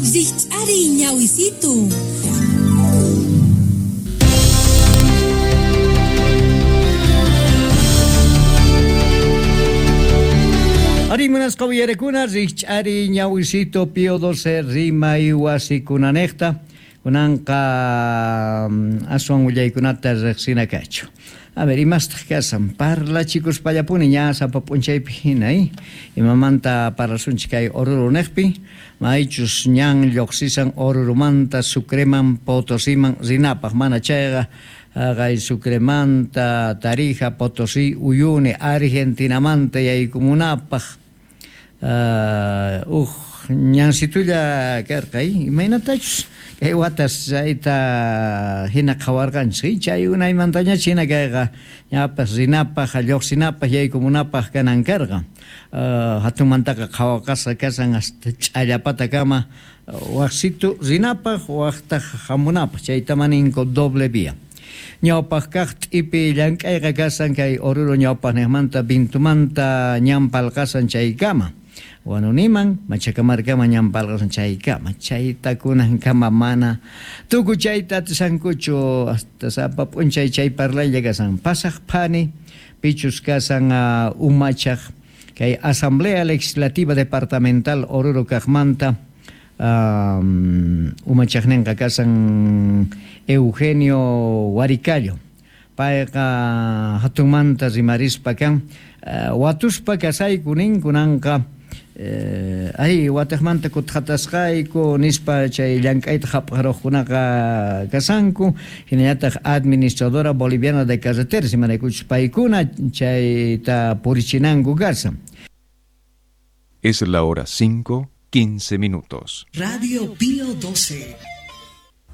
Rikch'ariy ñawisitu. Ari munasqa uyarekuna rikch'ariy ñawisito Pío 12 rimay wasikunanejta kunanqa aswan willaykunata riqsina kachu. A ver, imastaq kasan parlachikuspallapuni ña sapa p'unchaypi hina, imamanta parlasunchik kay Oruro niqpi, maychus ñan lluqsisan Orurumanta Sucreman Potosiman rinapaq, mana chayqa haqay Sucremanta Tarija, Potosí, Uyuni, Argentinamanta yaykumunapaq uq ñansitulla karqa, imaynatachus kay watas chayta hina qhawarqanchik, chay unaymantañach hina kayqa ñapas rinapaq, lluqsinapaq, yaykumunapaq kanan karqa. Hatunmantaqa qhawaqasqa kasan hasta ch'allapatakama waqsitu rinapaq, waqtaq hamunapaq, chayta maninku doble vía. Ñawpaq kaq t'ipi llank'ayqa kasan kay Oruro ñawpaqniqmanta Vintumanta ñan palqasan chaykama. Wanuniman, Machacamarcaman ñan palqasan chaykama. Chayta kunankama mana tukuchayta atisankuchu hasta sapa p'unchay chay parlaylla kasan. Pasaq phani pichus kasan umachaq kay Asamblea Legislativa Departamental Oruro kaqmanta umachaqninqa kasan Eugenio Huaricallo. Payqa hatunmanta rimarispa kan watuspa kasayku nin kunanqa ay wataqmanta kutqatasqayku nispa chay llank'ayta hap'aruqkunaqa kasanku, hinallataq Administradora Boliviana de Carreteras imaraykuchus paykuna chayta purichinanku kasan. Es la hora 5:15. Radio Pío 12.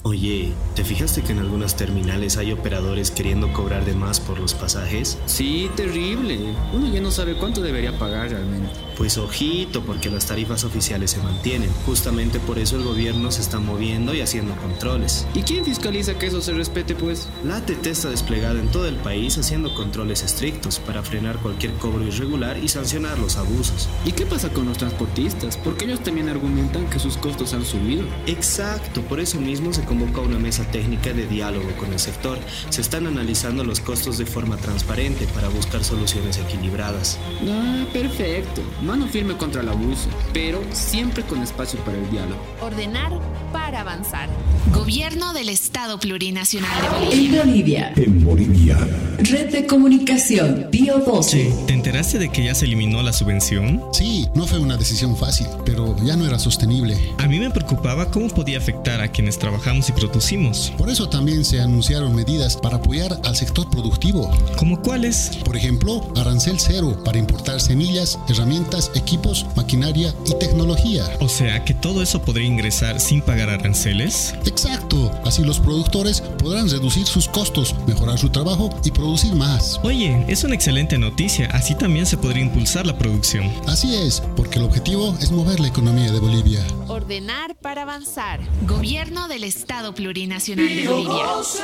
Oye, ¿te fijaste que en algunas terminales hay operadores queriendo cobrar de más por los pasajes? Sí, terrible. Uno ya no sabe cuánto debería pagar realmente. Pues ojito, porque las tarifas oficiales se mantienen. Justamente por eso el gobierno se está moviendo y haciendo controles. ¿Y quién fiscaliza que eso se respete, pues? La ATT está desplegada en todo el país haciendo controles estrictos para frenar cualquier cobro irregular y sancionar los abusos. ¿Y qué pasa con los transportistas? Porque ellos también argumentan que sus costos han subido. Exacto, por eso mismo se convocó una mesa técnica de diálogo con el sector. Se están analizando los costos de forma transparente para buscar soluciones equilibradas. Ah, perfecto. Mano firme contra el abuso, pero siempre con espacio para el diálogo. Ordenar para avanzar. Gobierno del Estado Plurinacional de Bolivia. En Bolivia. En Bolivia. Red de Comunicación Pío 12. ¿Te enteraste de que ya se eliminó la subvención? Sí, no fue una decisión fácil, pero ya no era sostenible. A mí me preocupaba cómo podía afectar a quienes trabajamos y producimos. Por eso también se anunciaron medidas para apoyar al sector productivo. ¿Cómo cuáles? Por ejemplo, arancel cero para importar semillas, herramientas, equipos, maquinaria y tecnología. O sea que todo eso podría ingresar sin pagar aranceles. Exacto. Así los productores podrán reducir sus costos, mejorar su trabajo y producir más. Oye, es una excelente noticia. Así también se podría impulsar la producción. Así es, porque el objetivo es mover la economía de Bolivia. Ordenar para avanzar. Gobierno del Estado Plurinacional de Bolivia. 12,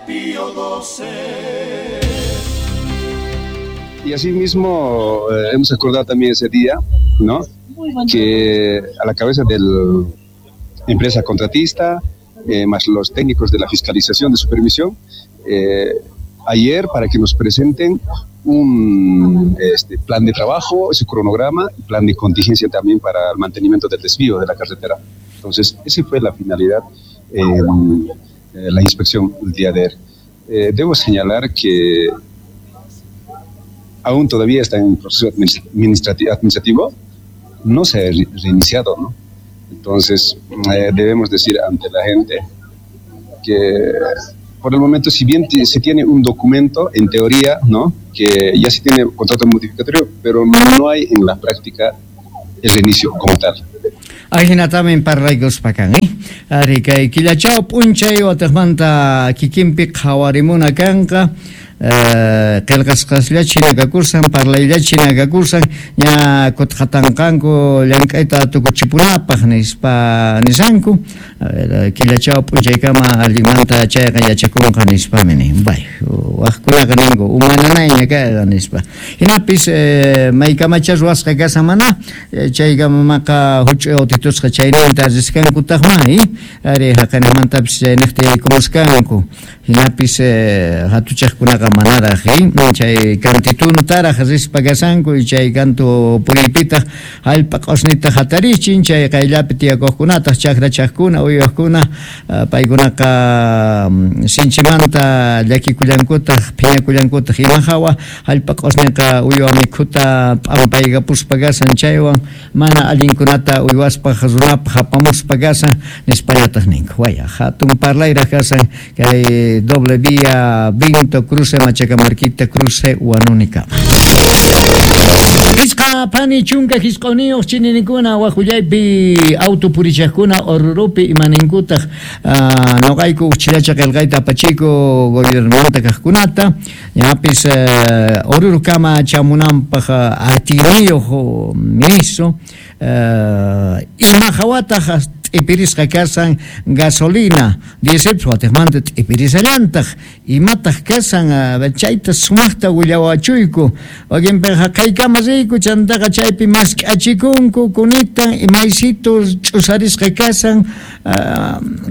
Pío 12. Y asimismo hemos acordado también ese día, ¿no? Que a la cabeza de la empresa contratista, más los técnicos de la fiscalización de supervisión, ayer para que nos presenten un plan de trabajo, ese cronograma, plan de contingencia también para el mantenimiento del desvío de la carretera. Entonces, esa fue la finalidad en la inspección el día de ayer. Debo señalar que aún todavía está en proceso administrativo, no se ha reiniciado, ¿no? Entonces, debemos decir ante la gente que por el momento, si bien se tiene un documento, en teoría, ¿no?, que ya se tiene contrato modificatorio, pero no hay en la práctica el reinicio como tal. Ajinatamin parlaykuspakan, Ari kay killachao p'unchay wataqmanta kikinpi qhawarimuna kanqa. Qillqasqasllachi hina kakursan, parlayllachi hina kakursan, ña kutqatanqanku llank'ayta tukuchipunapaq nispa nisanku. Killachaw p'unchaykama allinmanta chayqa yachakunqa nispami nin. Bay, waqkunaqa ninku umananayña kayqa nispa. Hinapis maykamacha ruwasqa kashan mana, chaykamamaqa huch'uy autitusqa chayninta riskankutaqma, ari haqanamantapis chayniqta yaykumuskanku. Hinapis hatuchaqkunaqa manaraq, chay kantituntaraq rispa kashanku, chay kantu puriypitaq hallp'a q'usnita hatarichin, chay qayllapi tiyakuqkunataq chakrachaqkuna, uywaqkuna, paykunaqa sinchimanta llakikullankutaq, phiñakullankutaq, ima hawa hallp'a q'usniqa uywa mikhuta p'ampaykapuspa kashan, chaywan mana allinkunata uywaspaq runapaq apamuspa kashan nispallataq ninku. Waya, hatun parlayraq kashan kay doble vía Vinto, cruce Machacamarquita, cruce Huanunicama. Pisqa pani chunka hisq'uniyuq chininikuna waqullaypi auto purichaqkuna Orurupi imaninkutaq noqayku uqchillacha qillqayta apachiku gobiernomanta kaqkunata ñapis Orurukama chamunanpaq atiyniyuq ministro ima hawataq t'ipirisqa kashan gasolina diésel watiqmanta t'ipirisallantaq imataq kashan chayta sumaqta willawachuyku wakinpiqa haqaykama riyku chantaqa chaypi mask'achikunku kunitan imaysitu ch'usarisqa kashan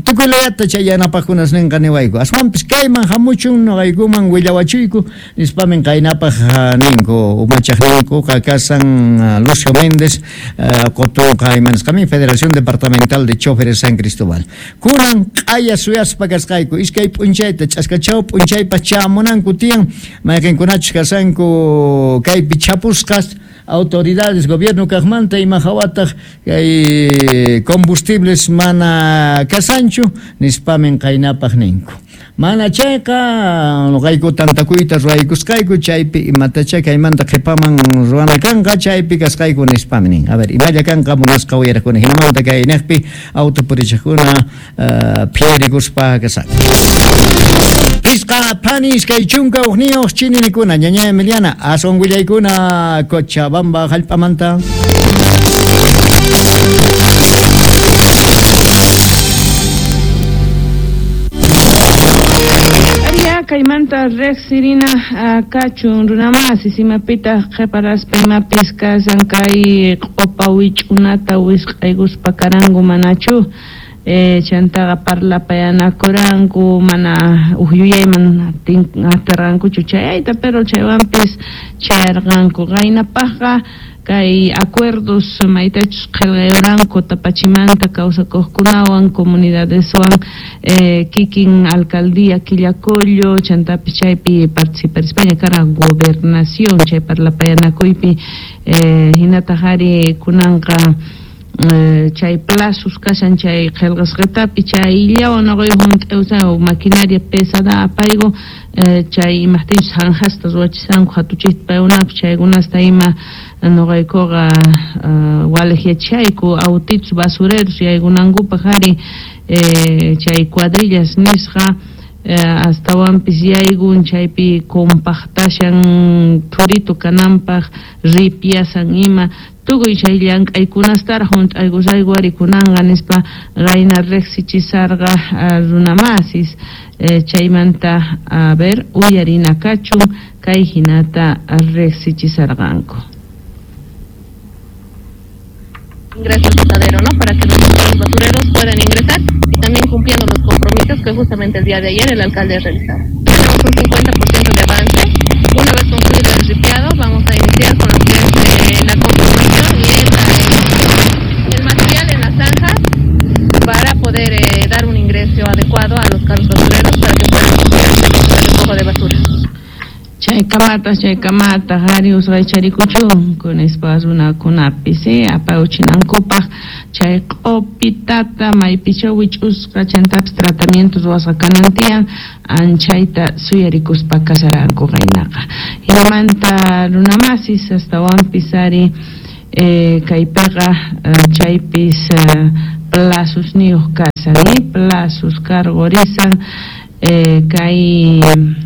tukuy layata chay yanapaqkunas ninqa niwayku aswanpis kayman hamuchun noqaykuman willawachuyku nispamin qaynapaq ninku umachaqninkuqa kashan Lucio Méndez qutunqa imanisqamin Federación Departamental de Choferes San Cristóbal. Kunan q'aya suyaspa kasqayku iskay p'unchayta ch'askachaw p'unchaypas chamunanku tiyan mayqinkunachus kashanku kaypi chapusqas autoridades gobierno kaqmanta ima hawataq kay combustibles mana kasanchu nispamin qaynapaq ninku. Mana chayqa noqayku tantakuyta ruwaykusqayku chaypi imatacha kaymanta qhipaman ruwana kanqa chaypi kasqayku nispami nin. A ver, imalla kanqa munasqa uyaraqkuna hinamanta kay niqpi auto purichaqkuna phiyarikuspa kashanku. Pisqa phani iskay chunka hukniyuq chininikuna ñaña Emiliana aswan willaykuna Cochabamba hallp'amanta. Kaymanta riqsirina kachun runamasi simapitaq qhiparaspa imapis kashan kay q'upa wich'unata wisq'aykuspa karanku manachu chantaqa parlapayanakuranku mana uj yuyayman atirqankuchu chayayta pero chaywanpis chayarqanku qaynapaqqa kay acuerdos maytachus qillqayuranku Tapachimanta kawsakuqkunawan comunidadeswan kikin alcaldía Quillacollo chantapis chaypi participarispaña kara gobernación chay parlapayanakuypi hinataq ari kunanqa chay plazos kashan chay qillqasqatapi chayllawan noqayku hunt'awsan maquinaria pesada apayku chay imaqtinchus zanjasta ruwachisanku hatuchikta paykunapas chaykunasta ima noqaykuqa waliqyachayku autitos basureros yaykunankupaq ari chay cuadrillas nisqa astawanpis yaykun chaypi compactashan thuritu kananpaq ripiasan ima tukuy chay llank'aykunastaraq hunt'aykusayku ari kunanqa nispa qayna riqsichisarqa runamasis chaymanta a ver uyarina kachun kay hinata riqsichisarqanku. Ingreso al botadero, ¿no? Para que los basureros puedan ingresar y también cumpliendo los compromisos que justamente el día de ayer el alcalde realizaba. Tenemos un 50% de avance. Una vez concluido el ripiado, vamos a iniciar con lo que es la conformación y el material en las zanjas para poder dar un ingreso adecuado a los carros basureros para que puedan el recojo de basura. Chaykamata hari usqaycharikuchun kunispa runakunapis apawchinankupaq chay q'upitata maypicha wich'usqa chantapis tratamiento ruwasqa kanan tiyan anchayta suyarikuspa kasaranku qaynaqa hinamanta runamasis astawanpis ari kaypiqa chaypis plazosniyuq kasan plazos cargorisan Kay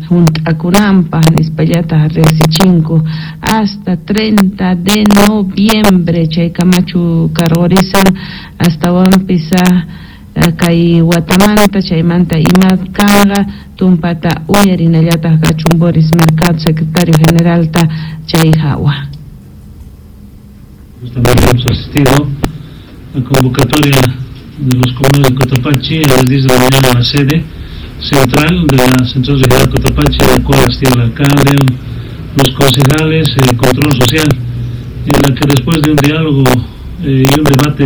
hunt'akunanpaq nispallataq riqsichinku hasta 30 de noviembre chay kamachu karqurisan astawanpis kay watamanta chaymanta ima kanqa tumpata uyarinallataq kachun Boris Mercado secretario generalta chay hawa. Justamente hemos asistido a la convocatoria de los comuneros de Cotapachi a las 10 de la mañana en la sede central de la Central Regional Cotapachi, en la cual asistía el alcalde, los concejales, el control social, en la que después de un diálogo y un debate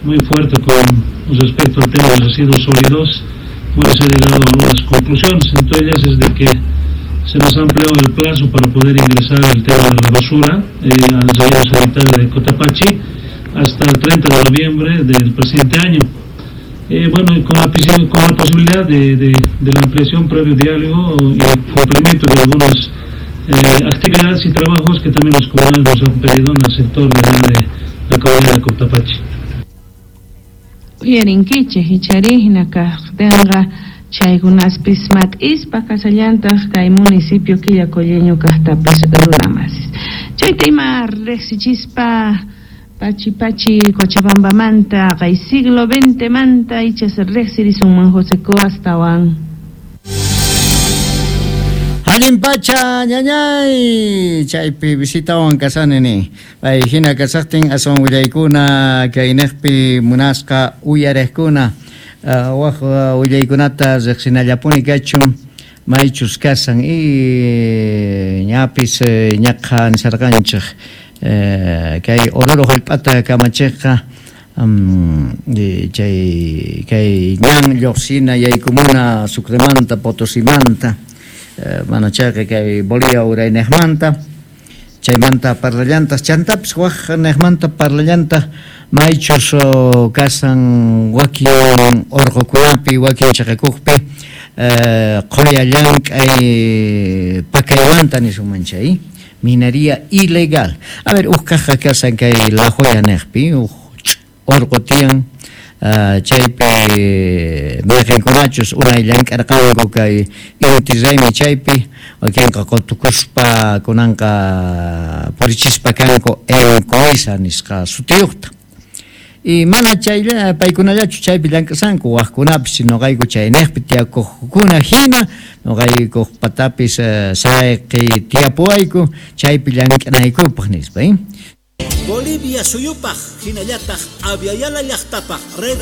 muy fuerte con respecto al tema de los residuos sólidos, bueno, se ha llegado a algunas conclusiones. Entre ellas es de que se nos ha ampliado el plazo para poder ingresar el tema de la basura al relleno sanitario de Cotapachi hasta el 30 de noviembre del presente año. Bueno, y con la posibilidad de la ampliación previo diálogo y el cumplimiento de algunas actividades y trabajos que también los comunales nos han pedido en el sector de la comunidad de Cotapachi. Uyarinkichik ichari hina kaqtinqa chaykunaspis mat'ispa kasallantaq kay municipio Quillacolleño kaqtapis runamasis. Chayta ima riqsichispa pachi pachi Cochabambamanta kay siglo XX manta ichas riqsirisunman José Coastawan. Allin pacha ñañay chaypi visitawan kasani ni pay hina kasaqtin aswan willaykuna kayniqpi munasqa uyariqkuna waq willaykunata riqsinallapuni kachun maychus kasan y ñapis ñaqa nisarqanchik kay Oruro hallp'ata kamachiqqa chay kay ñan lluqsina yaykumuna Sucremanta Potosimanta mana chayqa kay Bolivia urayniqmanta chaymanta parlallantaq chantapis waq niqmanta parlallantaq maychus kasan wakin urqukunapi wakin chaqakuqpi qulla llank'ay pakaywanta nisunman chay minería ilegal. A ver, uq kaqqa kasan kay La Joya niqpi uq urqu tiyan chaypi mayqinkunachus unay llank'arqanku kay inti raymi chaypi wakinqa qutukuspa kunanqa purichispa kanku Encoisa nisqa sutiyuqta. Y mana chaylla paykunallachu chaypi llank'asanku waqkunapis nuqayku chayniqpi tiyakuqkuna hina nuqaykuq patapis sayqi tiyapuwayku chaypi llank'anaykupaq nispa. Bolivia suyupaq hinallataq Aviala llaqtapaq red